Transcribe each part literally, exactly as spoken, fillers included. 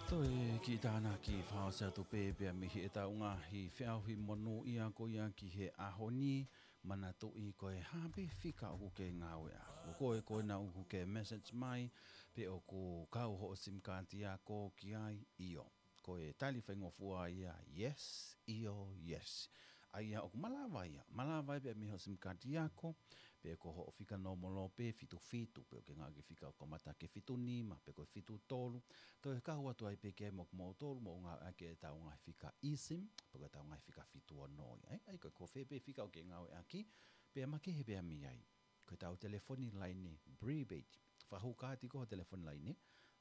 Toe kiʻi tānaki fakaʻosi atu pē pea mei heʻetau ngaahi feʻauhi monūʻia ko ia ki he ʻaho ni, manatuʻi ko e hā pē fika ʻoku ke ngāueʻaki. Ko koe ko ena ʻoku ke message mai, pe ʻoku kau hoʻo sim card ako ki ai, ʻio. Ko e tali faingofua ia, yes, ʻio, yes. ʻA ia ʻoku malava ia, malava ia pea mei hoʻo sim card ako, pe ko hoʻo fika nōmolo pē fitu fitu, pe ʻoku ke ngāueʻaki e fika ʻoku kamata ki he fitu nima, pe ko e fitu tolu, toe kau atu ai pē ki ai mo kimoutolu, mou ngāueʻaki ʻetau ngaahi fika eSIM, pe ko ʻetau ngaahi fika fitu ono ia, ē? ʻA ia ko e, ko fē pē fika ʻoku ke ngāueʻaki, pea makehe pea mei ai. Ko ʻetau telefoni laine prepaid. Fakahū kaati ko hoʻo telefoni laine,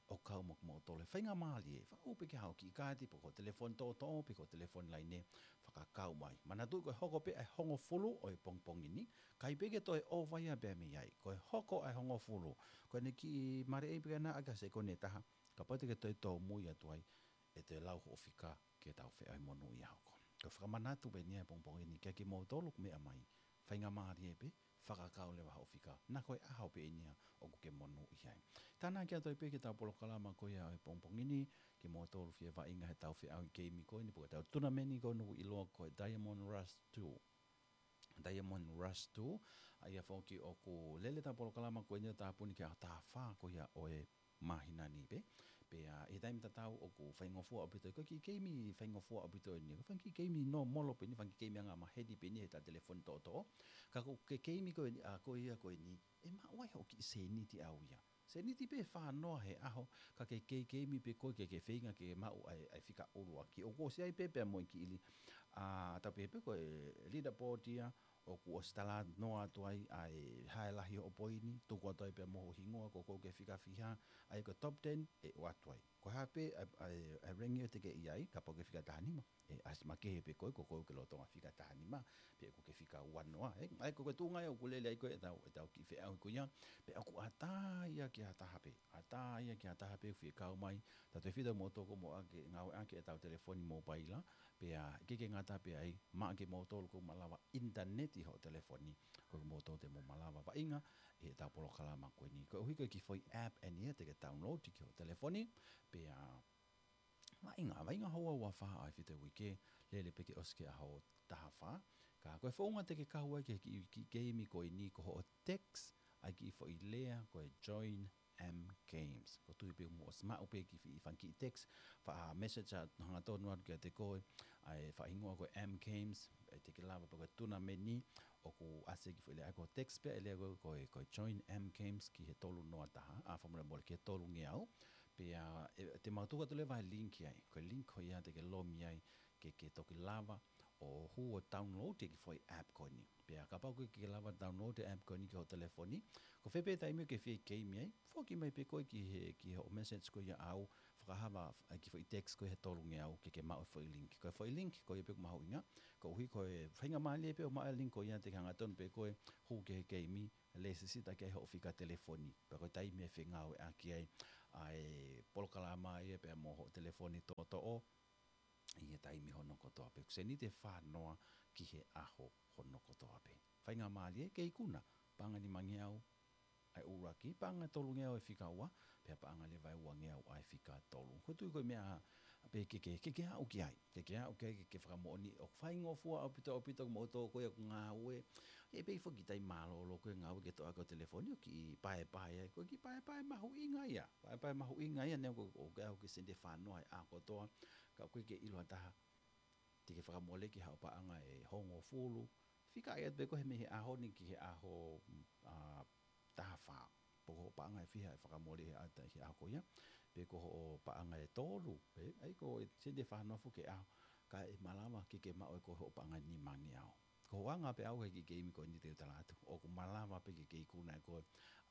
ʻo kau mo kimoutolu. Faingamālie, fakahū pē ke haʻu kiʻi kaati, pe ko hoʻo telefoni toʻotoʻo, pe ko hoʻo telefoni laine, fakakau mai. Manatuʻi ko e hoko pē ʻa e hongofulu ʻo e pongipongi ni, ʻikai pē ke toe ʻova ia pea mei ai. Ko e hoko ʻa e hongofulu, ko ʻene kiʻi maleʻei pē ke na ʻaki ha sekoni ʻe taha, kapau te ke toe tōmui atu ai, ʻe toe lau hoʻo fika ki heʻetau feʻauhi monūʻia hoko. Ko e fakamanatu pē eni ia he pongipongi ni kia kimoutolu ʻoku meʻa mai. Faingamālie pē, fakakau leva hoʻo fika. Na ko e ʻaho pē eni ia ʻoku ke monūʻia ai. Tānaki atu ai pē ki heʻetau polokalama ko ia ʻo e pongipongi ni, kimoutolu fie vaʻinga heʻetau feʻauhi keimi ko eni, pe ko ʻetau tunameni ko eni ʻoku ʻiloa ko e Diamond Rush two. Diamond Rush two, ʻa ia foki ʻoku lele ʻetau polokalama ko eni ʻo tāpuni ki he ʻaho taha fā ko ia ʻo e māhina ni pē. Pea ʻi he taimi tatau ʻoku faingofua ʻaupito, ko e kiʻi keimi faingofua ʻaupito eni. Ko e fanga kiʻi keimi nōmolo pē eni, fanga kiʻi keimi angamaheni pē eni heʻetau telefoni toʻotoʻo. Ka ko e kiʻi keimi ko eni, ʻa ko ia ko eni, ʻe maʻu ai hoʻo kiʻi sēniti ʻaʻau ia. Sēniti pē fā noa he ʻaho, ka ke kiʻi keimi pē koe ke ke feinga ke maʻu ʻa e, ʻa e fika ʻuluaki. ʻOku ʻosi ai pē pea mo e kiʻi li, ʻa, tau pehē pē ko e leaderboard ia, ʻoku ʻosi talanoa atu ai ʻa e hā e lahi hoʻo poini, tuku atu ai pea mo ho hingoa, ko koe ki he fika fiha, ʻa ia ko e top ten, ʻe ʻoatu ai. Ko e hā pē ʻa e, ʻa e, ʻa e rangi ʻoku te ke ʻi ai, kapau ʻoku ke fika taha nima, ʻe ʻasi makehe pē koe, ko koe ʻoku ke lolotonga fika taha nima, pe ʻoku ke fika ua noa, ē. ʻA ia ko e tuʻunga ia ʻoku lele ai ko ē ʻetau, ʻetau kiʻi feʻauhi ko ia, pea ʻoku ʻatā ia ki ha taha pē, ʻatā ia ki ha taha pē ʻoku fie kau mai, tautefito mo toko mo ake, ngāueʻaki ʻetau telefoni mōpaila, pea ʻikai ke ngata pē ai, maʻa kimoutolu ʻoku malava ʻinitaneti hoʻo telefoni, ko kimoutolu te mou malava vaʻinga ʻi heʻetau polokalama ko eni. Koeʻuhi ko e kiʻi foʻi app eni ia te ke download ki hoʻo telefoni, pea vaʻinga, vaʻinga houa ua fā ʻa e fitu uike, lele pē ke ʻosi ki he ʻaho taha fā. Ka ko e founga te ke kau ai ki he kiʻi, kiʻi keimi ko eni ko hoʻo text ʻa e kiʻi foʻi lea ko e join M Games. ʻOku ou tui pē ʻoku mou ʻosi maʻu pē kiʻi fi-, fanga kiʻi text, faʻa message ʻa hangatonu atu kiate koe, ʻa e faʻahingoa ko e M Games, ʻe te ke lava pē ko e tunameni, ʻoku ʻasi e kiʻi foʻi lea ko e text pē ʻa e lea ko e, ko e, ko e join M Games ki he tolu noa taha, ʻa fakamolemole ki he tolungeau, pea, ʻe, te mau tuku atu leva e link ai, ko e link ko ia te ke lomi ai, ke, ke toki lava, ʻo hū ʻo download e kiʻi foʻi app ko eni. Pea kapau ʻoku ke lava download e app ko eni ki hoʻo telefoni, ko fē pē taimi ʻoku ke fie keimi ai, foki mai pē koe ki he, ki hoʻo message ko ia ʻaʻau, fakahā ʻa e kiʻi foʻi text ko ia he tolungeau ke ke maʻu e foʻi link. Ko e foʻi link, ko ia pē ʻoku mahuʻinga, koeʻuhi ko e faingamālie pē ʻo maʻu e link ko ia te ke hangatonu pē koe, hū ki he keimi, lēsisita ki ai hoʻo fika telefoni. Pea ko e taimi ʻe fengāueʻaki ai, ʻa e polokalama ia pea mo hoʻo telefoni toʻotoʻo, ʻi he taimi hono kotoa pē. Ko e sēniti ʻe fā noa ki he ʻaho hono kotoa pē. Faingamālie ke ikuna, paʻanga ʻe nimangeau ʻa e ʻuluaki, paʻanga ʻe tolungeau ʻa e fika ua, pea paʻanga leva ʻe uangeau ʻa e fika tolu. ʻOku ou tui ko e meʻa pē ke, ke, ke, ke aʻu ki ai. Ke, ke aʻu ki ai, ke, ke fakamoʻoni ʻoku faingofua ʻaupito, ʻaupito kimoutolu ko ia ʻoku ngāue. ʻE pē foki taimi mālōlō ko e ngāue ke toʻo ʻaki ho telefoni ʻo kiʻi paepae ai. Ko e kiʻi paepae mahuʻinga ia. Paepae mahuʻinga ia neongo ʻoku, ʻoku ke aʻu ki he sēniti ʻe fā noa he ʻaho kotoa. Ka ʻoku ʻikai ke ʻilo ha taha te ke fakamole ki haʻo paʻanga ʻe hongofulu. Fika ʻai atu pē koe he mei he ʻaho ni ki he ʻaho, mm, ʻa, taha fā. Pe ko hoʻo paʻanga ʻe fiha ʻe fakamole he ʻata, he ʻaho ko ia. Pe ko hoʻo paʻanga ʻe tolu. Pē, ʻa ia ko e sēniti ʻe fā noa foki he ʻaho. Ka ʻe malava ke ke maʻu ʻe koe hoʻo paʻanga ʻe nimangeau. Ko hoʻo anga pē ʻaʻau he kiʻi keimi ko eni te u tala atu. ʻOku malava pē ke ke ikuna ʻe koe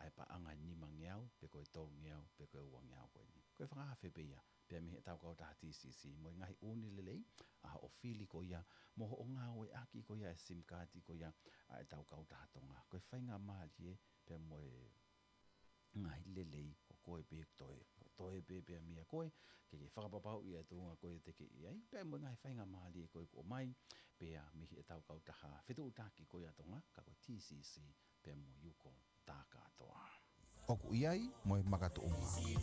ʻa e paʻanga ʻe nimangeau, pe ko e tolungeau, pe ko e uangeau ko eni. Ko e fakaafe pē ia. Pea mei heʻetau kautaha T C C, mo e ngaahi ʻū lelei ʻa hoʻo fili ko ia, mo hoʻo ngāueʻaki ko ia e sim card ko ia ʻa ʻetau kautaha Tonga. Ko e faingamālie pea mo e ngaahi lelei ko koe pē toe, ko toe pē pea mei a koe, ke ke fakapapauʻi ʻa e tuʻunga ko ē te ke ʻi ai, pea mo e ngaahi faingamālie ko ē kuo ʻomai, pea mei heʻetau kautaha fetuʻutaki ko ia Tonga, ka ko e T C C, pea mo Yuko Takatoa. ʻOku ʻi ai mo e makatuʻunga.